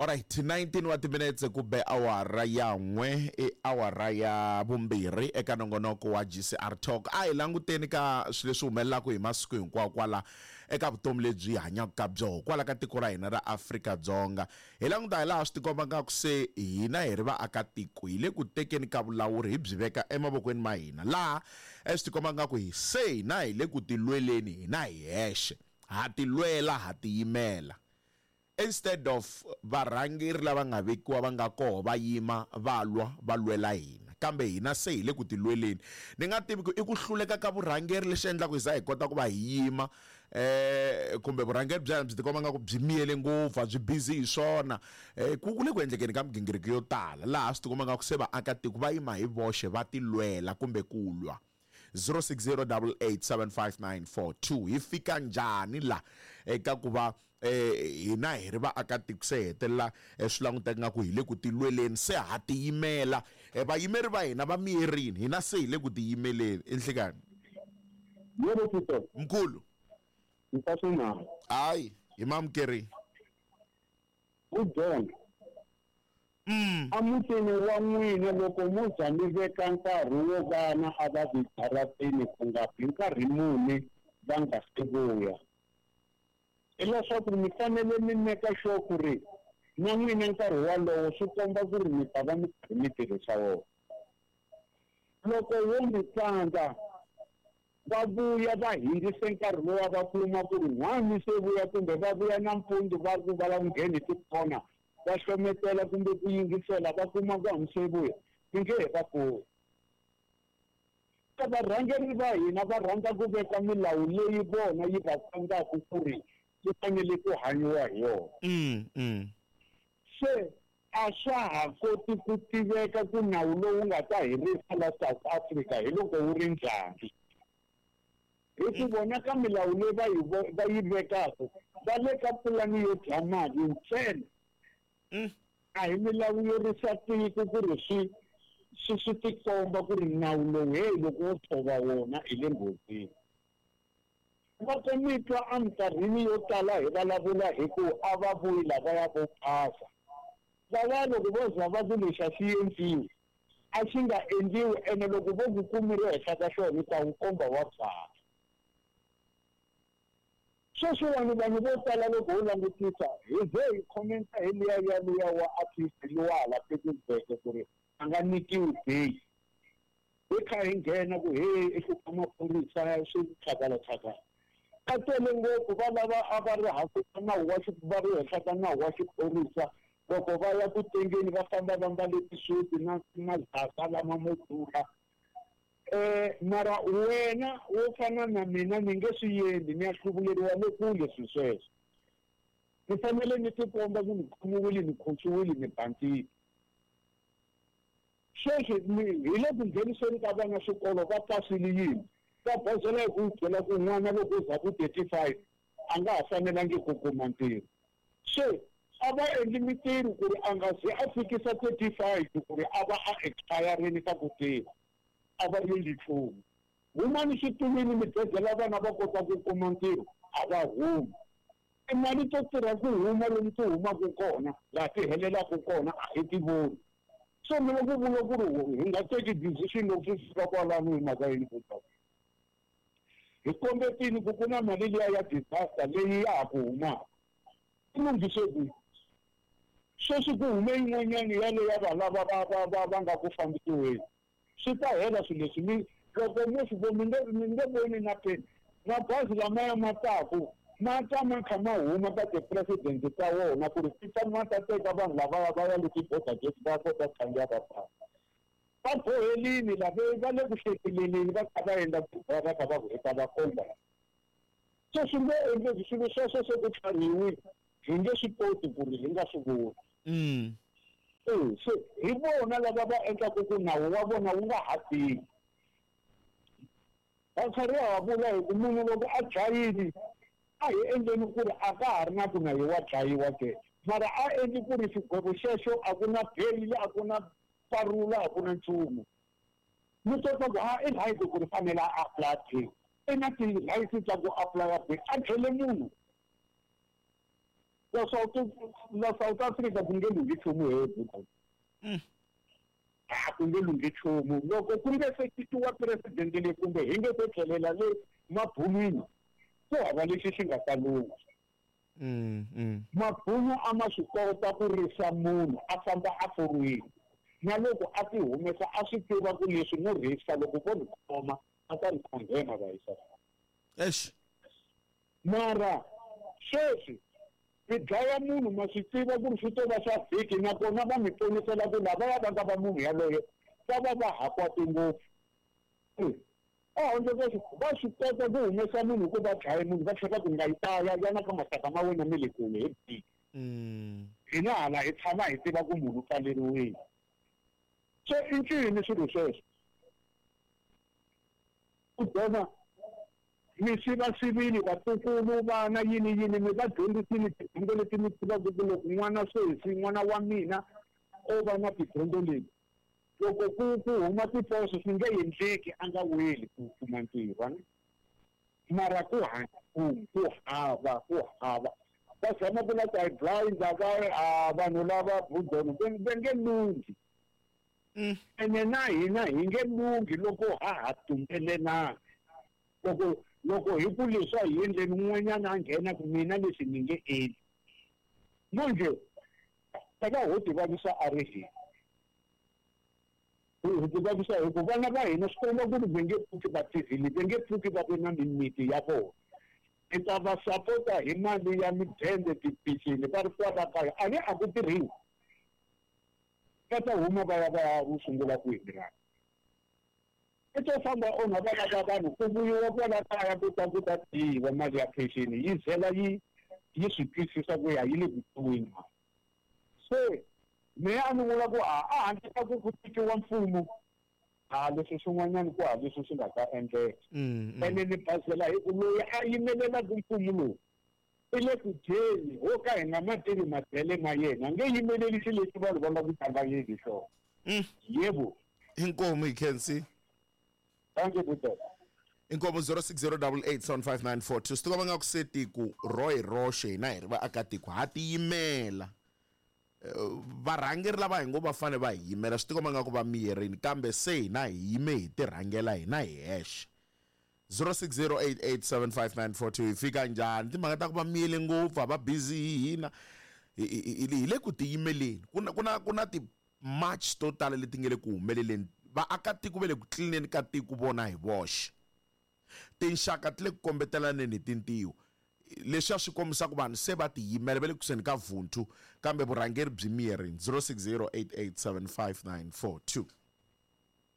Alright, 19 wa timinetse ku be awara ya n'we, i awara ya vumbirhi eka nongonoko wa GCR Talk. A hi languteni ka swilo leswi humelelaka hi masiku hinkwawo kwala eka vutomi lebyi hi hanyaka ka byoho kwala ka tiko ra hina ra Afrika-Dzonga. Hi languta hi laha swi tikomba nga ku se hina hi ri vaakatiko hi le ku tekeni ka vulawuri hi byi veka emavokweni ma hina, laha swi tikomba nga ku hi se hina hi le ku tilweleni hina hi hexe, ha tilwela, ha tiyimela. Instead of varhangeri lava nga vekiwa va nga koho va yima va lwa va lwela hina, kambe hina se hi le ku tilweleni. Ni nga tivi ku i ku hluleka ka vurhangeri lexi endlaka hi za hi kota ku va hi yima, kumbe vurhangeri bya hina byi tikomba nga ku byi miyele ngopfu, a byi busy hi swona. Ku le ku endlekeni ka migingiriko yo tala laha swi tikomba nga ku se vaakatiko va yima hi voxe va tilwela kumbe ku lwa. 0608875942. Hi fika njhani la eka ku va hina hi ri vaakatiko se hetelela swi languteka nga ku hi le ku tilweleni, se ha tiyimela, vayimeri va hina va miyerini, hina se hi le ku tiyimeleni. I nhlikani? Yebo, Tito. Mkhulu. Ntaswinalo. Hayi, hi mamukerini. Ku John. Emutini wa n'wina loko mo za mi veka nkarhi wo vana a va vi jaratini ku nga bi nkarhi muni va nga se vuya, hileswaku mi fanele mi meka sure ku ri na n'wina nkarhi walowo swi komba ku ri mi ta va mi karhi mi tirhisa wona. Loko wo mi tsandza va vuya va hindzise nkarhi lowa va kuma ku ri n'hwani se vuya, kumbe va vuya nampundzu va ku va lava ku nghena hi tikona va hlometela kumbe ku yingisela va kuma ku hambi se vuya, mi nge he va kumi. Ka varhangeri va hina va rhandza ku veka milawu leyi vona yi va tsandzaka ku ri yi fanele ku hanyiwa hi yona. Se a swa ha koti ku tiveka ku nawu lowu nga ta herisa la South Africa hi loko wu ri njhani. Hi ku vona ka milawu leyi va yi va yi vekaka, va le ka pulani yo dya mali ntsena. A hi milawu yo risa tiko ku ri swi swi swi tikomba ku ri nawu lowu heyi loko wo tshova wona hi le nghozini. Loko mi twa eminkarhini yo tala hi vulavula hi ku a va vuyi lavaya vo phasa, lavaya loko vo za va ku lexi a xi endliwi, a xi nga endliwi, ene loko vo ku kumile henhla ka xona u ta wu komba wa byala. Sweswiwani vanhu vo tala loko ho langutisa hi ze hi commenta hi liya ya luya wa artist luwa hala Piketberg ku ri a nga nyikiwi bail, hi kha hi nghena ku he i hlupha maphorisa swi chakala chakala. Va tele ngopfu va lava a va ri hansi ka nawu wa va ri henhla ka nawu wa xiphorisa, loko va ya ku tengeni va famba va mbale tisuti na mazaka lama mo durha. Mara wena wo fana na mina ni nge swi endli, ni ya hluvuleriwa le kule swilo sweswo. Ni fanele ni tikomba ku ni khomiwile, ni khotsiwile, ni bandzile. Sweswi hi le ku ngheniseni ka vana swikolo va pasile yini? Va bozela hi ku byela ku n'wana loko u za ku 35 a nga ha fanelangi ku kuma ntirho. Se a va endli mintirho ku ri a nga ze a fikisa 35 ku ri a va a expire-rini ka ku tirha, a va endli nchumu. Humani xitulwini mi gegela vana va kota ku kuma ntirho, a va humi. Timali to tirha ku huma lomu ti humaka kona, laha ti helelaka kona a hi ti voni. So mi loko vula ku ri hi nga teki decision loko swi fika kwalano hi mhaka yini ku ta hi kombetini ku ku na mali liya ya disaster leyi ya ha ku humaka, i lunghise kwihi? Sweswi ku hume yin'wanyani yaleya va lava va va va va nga ku fambisiweni, swi ta hela swilo leswi. Mi loko mo swi vona mi nge mi nge voni na peni. Mabazi lamaya ma taku ma ta ma kha ma huma ka ti-president ta wona ku ri ti ta ma ta teka vanhu lavaya va ya le ti-border gate va kota ku khandziya va famba. Va bohelini lava va le ku hlekeleleni va kha va endla va kha va ku heta va komba. Se swi nge endleki swilo sweswo se ku tlharihiwile, hi nge swi koti ku ri hi nga swi voni. Se hi vona lava va endlaka ku nawu wa vona wu nga ha tirhi. Va karhi va vula hi ku munhu loko a dlayile a hi endleni ku ri a ka ha ri na ku na ye wa dlayiwa ke, mara a endli ku ri xigwevo xexo a ku na bail, a ku na parula, a ku na nchumu. Mi tota ku ha i right ku ri fanele a apply bail, i na ti-rights ta ku apply bail, a tlhele munhu. La South la South Africa ku nge lunghi nchumu he buku. A ku nge lunghi nchumu loko ku nge se cinciwa president leyi kumbe hi nge se tlhelela le mabunwini ku hava lexi xi nga ta lungha. Mabunu a ma swi kota ku risa munhu a famba a forwini na loko a ti humesa a swi tiva ku leswi no risa loko vo ni khoma a ta ni condemn va yisa. Eish. Mara sweswi mi dlaya munhu ma swi tiva ku ri swi to va swa vhiki nakona va mi ponisela ku lavaya va nga va munhu yaloye va va va ha kwate ngopfu. Ehandle ka sweswo va swi kota ku humesa munhu ku va dlaye munhu va tlhela ku nga yi taya yana ka maxaka ma wena ma le kule hi vhiki. Hina hala hi tshama hi tiva ku munhu u pfaleriwile. Se i ncini swilo sweswo? Ku dona mi sivasivile vatukulu vana yini yini mi va dyondzisile tidyondzo leti mi tivaka ku loko n'wana sweswi n'wana wa mina o va na tidyondzo leti loko ku ku huma tiposo swi nge endleki a nga weli ku kuma ntirho a ni mara ku ku ku hava ku hava va zama ku la ku hi blind va a vanhu lava budono va nge lunghi. Ene na hina hi nge lunghi loko ha ha tumbelelana. Loko loko hi ku leswi a hi endleni un'wanyana a nghena ku mina leswi ni nge endli. Manjhe ta va ho ti vavisa a ri hina. Hi ti vavisa hi ku vana va hina swi komba ku ri va nge pfuki va tirhile, va nge pfuki va ve na mimiti ya vona. Hi ta va sapota hi mali ya midende, tipicini va ri kwala kaya. A ni a ku tirhiwi. Va ta huma va ya va ya wu sungula kwihi milawu? I to famba onha vana va vanhu ku vuyiwa kwala kaya ku ta ku ta dyiwa mali ya pension yi zela yi yi swi twisisa ku ya yi le ku dyiweni mali. Se mehe a ni vula ku a a handle ka ku ku cinciwa mfumo a leswi swin'wanyana ku ha leswi swi nga ta endleka. Ene ni basela hi ku loyi a yimelelaka mfumo lowu i le ku dyeni ho ka hi nga ma tivi madyele ma yena nge yimeleli xilo lexi vanhu va nga ku hlanganyeli hi xona. Yebo. Inkomu hi khensi. Thank you, Buti. Inkomu 0608875942 swi tiva nga ku se tiko ro hi roxe hina hi ri vaakatiko ha tiyimela. Varhangeri lava hi ngo va fanele va hi yimela swi tikomba nga ku va miyerini kambe se hina hi yime hi tirhangela hina hi hexe. 0608875942 hi fika njhani timhaka ta ku va miyele ngopfu a va busy hi hina hi le ku tiyimeleni ku na ku na ku na ti-march to tala leti nge le ku humeleleni vaakatiko va le ku tlilineni ka tiko vona hi voxe tinxaka ti le ku kombetelaneni hi tintiho leswiya swi kombisa ku vanhu se va tiyimela va le kusuhani ka vunthu kambe vurhangeri byi miyerini 0608875942.